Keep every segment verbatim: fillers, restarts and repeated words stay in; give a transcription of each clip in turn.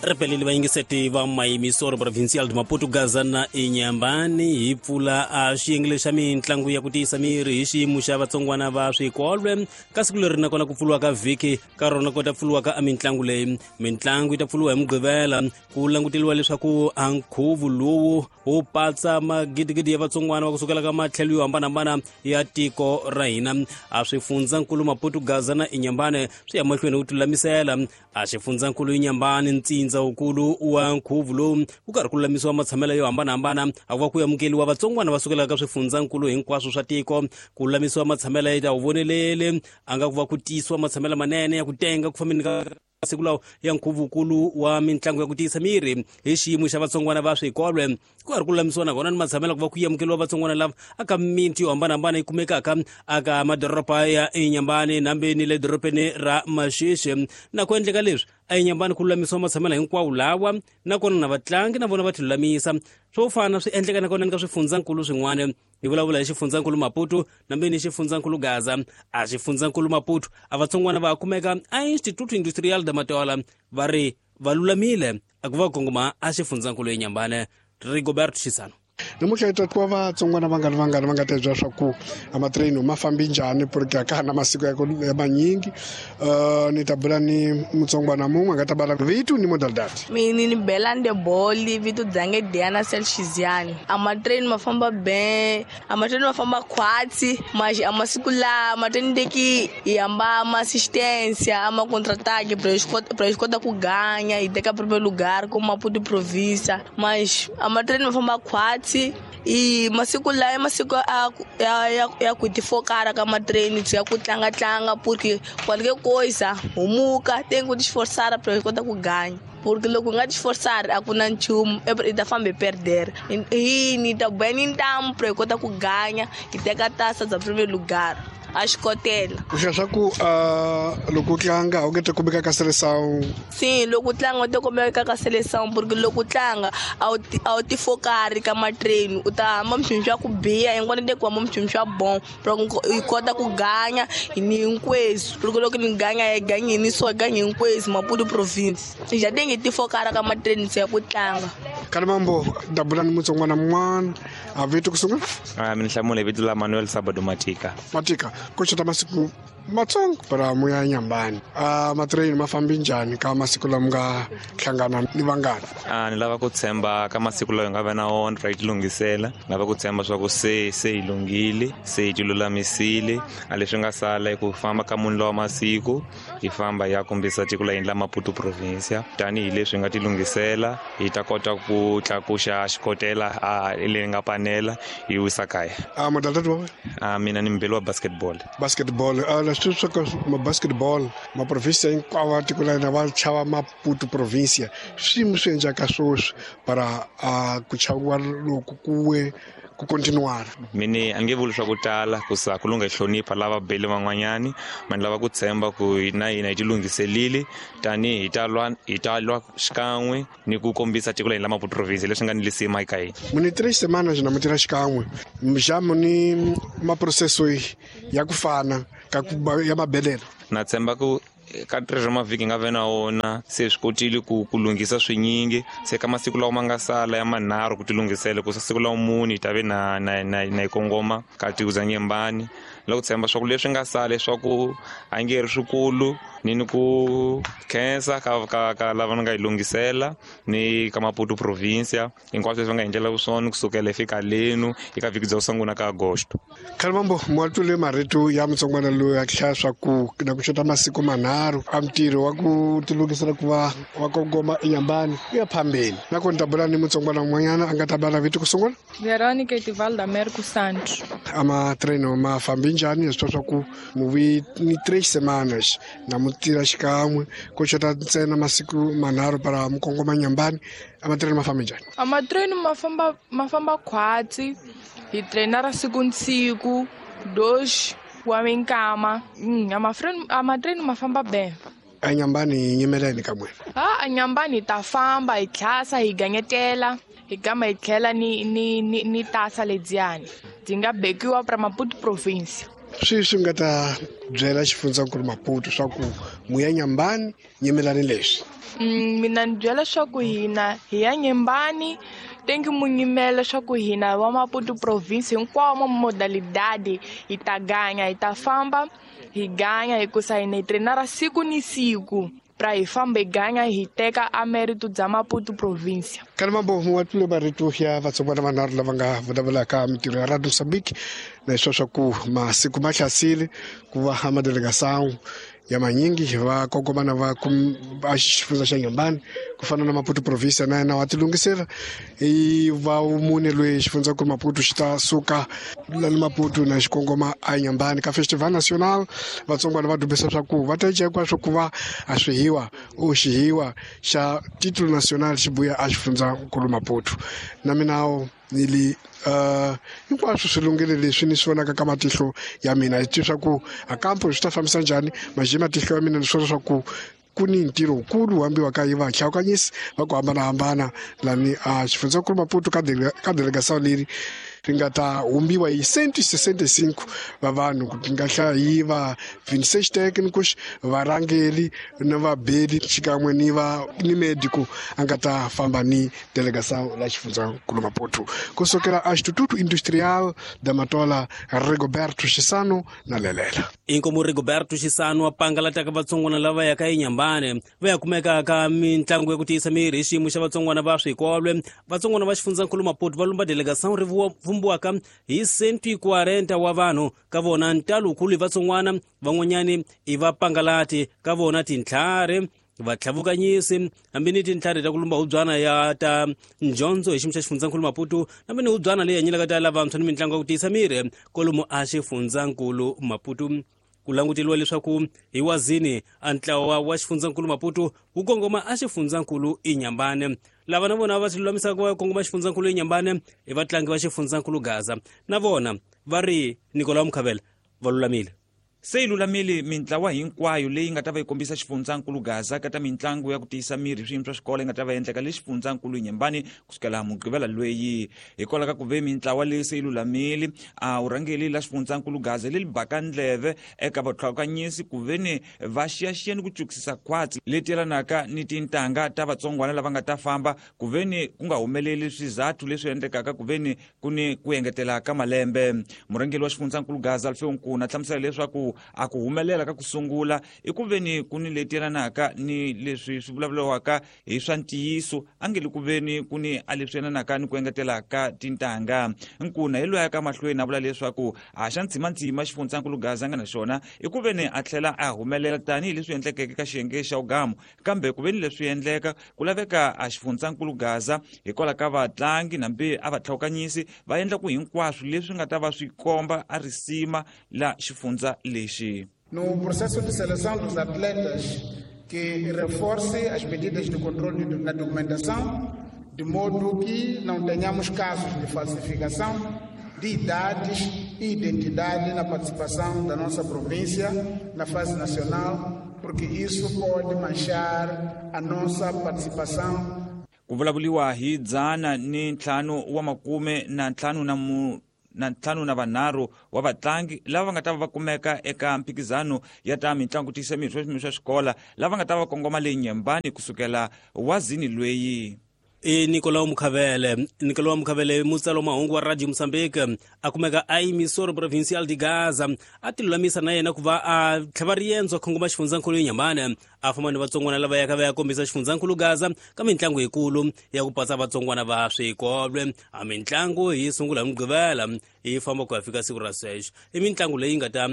Ripeleli vayingiseti va Maymisor Provincial de Maputo Gaza na Inhambane hi pfula a xiyenge xa mintlangu ya ku tiyisa miri hi xiyimo xa vatsongwana va swikolwe ka siku leri nakona ku pfuriwa ka vhiki ka rona ku ta pfuriwa ka mitlangu leyi. Mitlangu yi ta pfuriwa hi Mugqivela ku languteriwa leswaku a nkhuvo lowu wu patsa magidigidi ya vatsongwana va kusukela ka matlhelo yo hambanahambana ya tiko ra hina. A swifundzankulu Maputo Gaza na Inhambane swi ya mahlweni ku tilulamisela. A xifundzankulu Inhambane ntsindza wukulu wa nkhuvo lowu ku karhi ku lulamisiwa matshamelo yo hambanahambana a ku va ku amukeriwa vatsongwana va sukelaka ka swifundzankulu hinkwaswo swa tiko. Ku lulamisiwa matshamelo ya ta wu vonelele a nga ku va ku tiyisiwa matshamelo manene ya ku tenga ku fambeni ka siku lawa ya nkhuvukulu wa mitlangu ya ku tiyisa miri hi xiyimo xa vatsongwana va swikolwe. Ku karhi ku lulamisiwa nakona ni matshamelo ku va ku amukeriwa vatsongwana lava aka miti yo hambanahambana yi kumekaka aka madoroba ya Inhambane nambe ni le dorobeni ra Maxixi. Na ku endleka leswi a Inhambane ku lulamisiwa matshamelo hinkwawo lawa nakona na vatlangi na vona va ti lulamisa. Swo fana swi endleka nakona ni ka swifundzankulu swin'wana. Hi vulavula hi xifundzankulu Maputo nambe ni xifundzankulu Gaza. A xifundzankulu Maputo a vatsongwana va kumeka a Instituto Industrial de Matola va ri va lulamile a ku va kongoma a xifundzankulu Inhambane. Rigoberto Chisano. Namuntlha hi ta twa vatsongwana vangani vangani va nga ta byela swa ku a matireni ma fambi njhani porque a ka ha na masiku ya ku ya manyingi. Uh, ni ta bula ni mutsongwana mun'we a nga ta bala vito ni modalidade. Mina ni Belande Boli, vito dzange Diana Selchiziani. A matireni ma famba ben, a matireni ma famba khwatsi, mas a masiku la matireni teki hi hamba ma assistência, a ma contra-ataque pra pra kota ku ganha hi teka primeiro lugar como Maputo província, mas a matireni ma famba khwatsi. I masiku la masiku a ya ya ya ku tifokara ka matreni ya ku tlanga tlanga porque qualquer coisa humuka tem que te esforçar para kota ku ganha. Porque loko nga te esforçar a ku na nchumu i ta famba perder. I ni ta bem então para kota ku ganha e teka taça za primeiro lugar. A xikotela. U hlaya swa ku loko u tlanga u nge te kumeka ka seleção? Sim, loko u tlanga u te kumeka ka seleção porque loko u tlanga a wu a wu tifokari ka matreni u ta hamba mchumu swa ku biha hinkwana te ku hamba mchumu swa bom pra i kota ku ganha ni hinkweswo. Porque loko ni ganha hi ganha ni so ganha hinkweswo Maputo province. Já tem que tifokara ka matreni ya ku tlanga. Kalimambo dabula ni mutsongwana mun'wana a vito ku sungula? Ah, mina hlamula vito la Manuel Sabado Matika. Matika, ku xota masiku matsongo para muya Inhambane. A matireni ma fambi njhani ka masiku lama nga hlangana ni vangani? A ni lava ku tshemba ka masiku lawa hi nga va na wona ra yi tilunghisela. Ni lava ku tshemba swa ku se se hi lunghile, se hi tilulamisile. A leswi nga sala i ku famba ka muni lawa masiku hi famba hi ya kombisa tiko la hina la Maputo provincia. Tanihileswi hi nga tilunghisela hi ta kota ku tlakuxa xikotela a leyi nga panela hi wisa kaya. A modalidade wa wena? A mina ni mbeli wa basketball. Basketball a leswi swa ka ma basketball ma province hinkwawo tiko la hina va chava Maputo provincia. Swiyimo swi endlaka sweswi para a ku chaviwa loko kuwe ku continuar. Mini a nge vuli swa ku tala ku sa ku lungha hlonipha lava beli van'wanyani, ma ni lava ku tshemba ku na hina hi tilunghiselile tanihi hi ta lwa hi ta lwa xikan'we ni ku kombisa tiko la hina la Maputo province leswi nga ni lisima eka hina. Muni três semanas na mutira xikan'we mjamu ni maprocesso ya ku fana ka ku ya mabelela. Na tshemba ku ka três mavhiki nga ve na wona se swi kotile ku ku lunghisa swinyingi. Se ka masiku lawa ma nga sala ya manharhu ku tilunghisela ku siku lawa muni hi ta ve na na na na yi kongoma ka tiko za Inhambane. Loko tshemba swa ku leswi nga sala leswaku a nge ri swikulu ni ni ku khensa ka ka ka lava nga yi lunghisela ni ka Maputo provincia hinkwaswo leswi va nga hi endlela swona kusukela fika lenu eka vhiki bya ku sungula ka Agosto. Kalimambo mwatule marito ya mutsongwana loyi a hlaya swa ku na ku xota masiku manharhu a ntirho wa ku tilunghisela ku va wa kongoma Inhambane ku ya phambeni. Nakona ta bula ni mutsongwana un'wanyana a nga ta bala vito ku sungula? Veronica Etivalda Merco Santos. A matreno ma fambi njhani leswi swa ku muvi ni três semanas na mutira xikan'we ku xota ntsena masiku manharhu para mukongoma Inhambane. A matreno ma fambi njhani? A matreno ma famba ma famba khwatsi hi trainara siku ni siku dois wa minkama. Mm, a mafreno a matreno ma famba ben. A Inhambane hi nyimeleni ka n'wina? A Inhambane hi ta famba hi tlhasa hi ganyetela hi gama hi tlhela ni ni ni ni tasa lediyani byi nga bekiwa pra Maputo province. Swi swi nga ta byela xifundzankulu Maputo swa ku mu ya Nyambani nyimelani leswi. Mina ni byela leswaku hina hi ya Nyambani tengi mu nyimela leswaku hina wa Maputo province hinkwawo ma modalidade hi ta ganya hi ta famba hi ganya hikusa hina hi trainara siku ni siku pra hi famba hi ganya hi teka a mérito bya Maputo province. Kana mambo wa tlule marito ya vatsongwana vanharhu lava nga vulavulaka mintirho ya Radio Mozambique na leswa swa ku masiku ma hlasile ku va ha madelegação ya manyingi va kongomana va va xifundza xa Nyambani ku fana na Maputo province na yena wa tilungisela i va mune loyi xifundza ku Maputo xi ta suka la Maputo na xikongoma a Nyambani ka Festival National. Vatsongwana va dubisa swa ku va ta hinkwaswo ku va a swihiwa o xihiwa xa titulo national xi buya a xifundza nkulu Maputo na mina ni uh hinkwaswo swi lunghile leswi ni swi vonaka ka matihlo ya mina hi swa ku a kampo swi ta fambisa njhani majima matihlo ya mina ni swona swa ku ku ni ntirho wukulu hambiwa ka yi vahlawukanyisi va ku hambanahambana lani a xifundzankulu Maputo ka ka delegação leri ri nga ta humbiwa hi cento e sessenta e cinco va vanhu ku nga hlaya hi va vinte e seis técnicos varhangeli na vabeli xikan'we ni va ni médico a nga ta famba ni delegação la xifundzankulu Maputo kusukela a Instituto Industrial da Matola. Rigoberto Xisano na Lelela. Inkomu Rigoberto Xisano a pangalataka vatsongwana lava yaka eNyambani va ya kumeka ka mitlangu ya ku tiyisa miri hi xiyimo xa vatsongwana va swikolwe. Vatsongwana va xifundzankulu Maputo va lumba delegação ri vumbiwaka hi cento e quarenta wa vanhu ka vona ntalukulu hi vatsongwana van'wanyani i vapangalati ka vona tintlhari vatlhavukanyisi hambi ni tintlhari ta ku lumba hubyana ya ta njondzo hi xiyimo xa xifundzankulu Maputo hambi ni hubyana leyi hanyelaka ta lavantshwa ni mitlangu ya ku tiyisa miri kwalomu a xifundzankulu Maputo. Ku languteliwa leswaku hi wazini a ntlawa wa xifundzankulu Maputo wu kongoma a xifundzankulu eNyambani. Lava na vona va tilulamisaka va kongoma xifundzankulu eNyambani i vatlangi va xifundzankulu Gaza na vona va ri Nicolau Mukhavela va lulamile. Se yi lulamile mintlawa hinkwayo leyi nga ta va yi kombisa xifundzankulu Gaza ka ta mitlangu ya ku tiyisa miri swiyimo swa xikolo yi nga ta va endleka le xifundzankulu Nyambani kusukela Mugqivela lweyi. Hikwalaho ka ku ve mintlawa leyi se yi lulamile a vurhangeri la xifundzankulu Gaza leri baka ndleve eka vatlhakanyisi ku ve ni va xiyaxiya ni ku cukisisa khwatsi leti yelanaka ni tintangha ta vatsongwana lava nga ta famba ku ve ni ku nga humeleli swizathu leswi endlekaka ku ve ni ku ni ku engetela ka malembe. Murhangeri wa xifundzankulu Gaza Alfeo Nkuna hlamusela leswaku a ku humelela ka ku sungula i ku ve ni ku ni leti yelanaka ni leswi swi vulavuriwaka hi swa ntiyiso a nge le ku ve ni ku ni a leswi yelanaka ni ku engetela ka tintangha. Nkuna hi loyi a ka mahlweni a vula leswaku a xa ntsimantsima xifundzankulu Gaza nga na xona i ku ve ni a tlhela a humelela tanihileswi endlekeke ka xiyenge xa ugamu kambe ku ve ni leswi endleka ku laveka a xifundzankulu Gaza hikwalaho ka vatlangi nambi a vatlhawukanyisi va endla ku hinkwaswo leswi nga ta va swi komba a risima la xifundza lexi. No processo de seleção dos atletas que reforce as medidas de controle na documentação, de modo que não tenhamos casos de falsificação de idades e identidade na participação da nossa província na fase nacional, porque isso pode manchar a nossa participação. Ku vulavuriwa hi dzana ni ntlhanu wa makume na ntlhanu na mu na ntlhanu na vanharhu wa vatlangi lava nga ta va va kumeka eka mphikizano ya ta mitlangu tiyisa miri swa swa xikola lava nga ta va kongoma le Nyambani kusukela wazini lweyi. I Nicolau Mukhavele. Nicolau Mukhavele mutsalo mahungu wa Radio Mozambique a kumeka a emissora provincial de Gaza a tilulamisa na yena ku va a tlhava riendzo a kongoma xifundzankulu eNyambani a famba ni vatsongwana lava yaka va ya kombisa xifundzankulu Gaza ka mitlangu yikulu ya ku patsa vatsongwana va swikolwe. A mitlangu yi sungula hi Mugqivela yi famba ku ya fika siku ra sweswo. I mitlangu leyi nga ta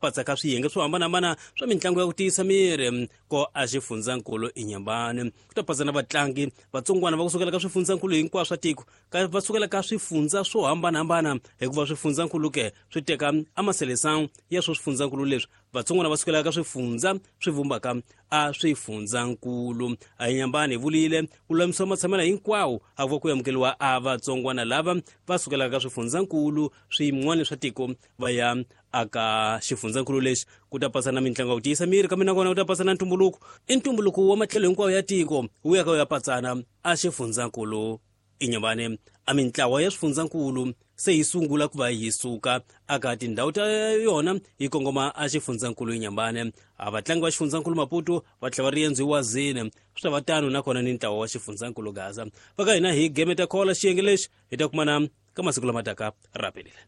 patsa ka swiyenge swo hambanahambana swa mitlangu ya ku tiyisa miri ko a xifundzankulu eNyambani. Ku ta patsa na vatlangi vatsongwana va kusukela ka swifundzankulu hinkwaswo swa tiko ka va sukela ka swifundza swo hambanahambana hikuva swifundzankulu ke swi teka amaseleção ya swo swifundzankulu leswi vatsongwana va sukela ka swifundza swi vumbaka a swifundzankulu. A Nyambani vulile ku lulamisiwa matshamelo hinkwawo a ku va ku amukeriwa a vatsongwana lava va sukelaka ka swifundzankulu swin'wana swa tiko va ya aka xifundzankulu lexi. Ku ta pasa na mitlangu ya ku tiyisa miri kambe nakona ku ta pasa na ntumbuluko i ntumbuluko wa matlhelo hinkwawo ya tiko wu ya ka wu ya patsana a xifundzankulu eNyambani. A mintlawa ya swifundzankulu se yi sungula ku va yi suka aka tindhawu ta yona yi kongoma a xifundzankulu Inhambane. A vatlangi va xifundzankulu Maputo va tlhela va riendzo wazini swi ta va tano nakona ni ntlawa wa xifundzankulu Gaza. Va ka hina hi gemeta khola xiyenge lexi hi ta kumana ka masiku lama taka rapelile.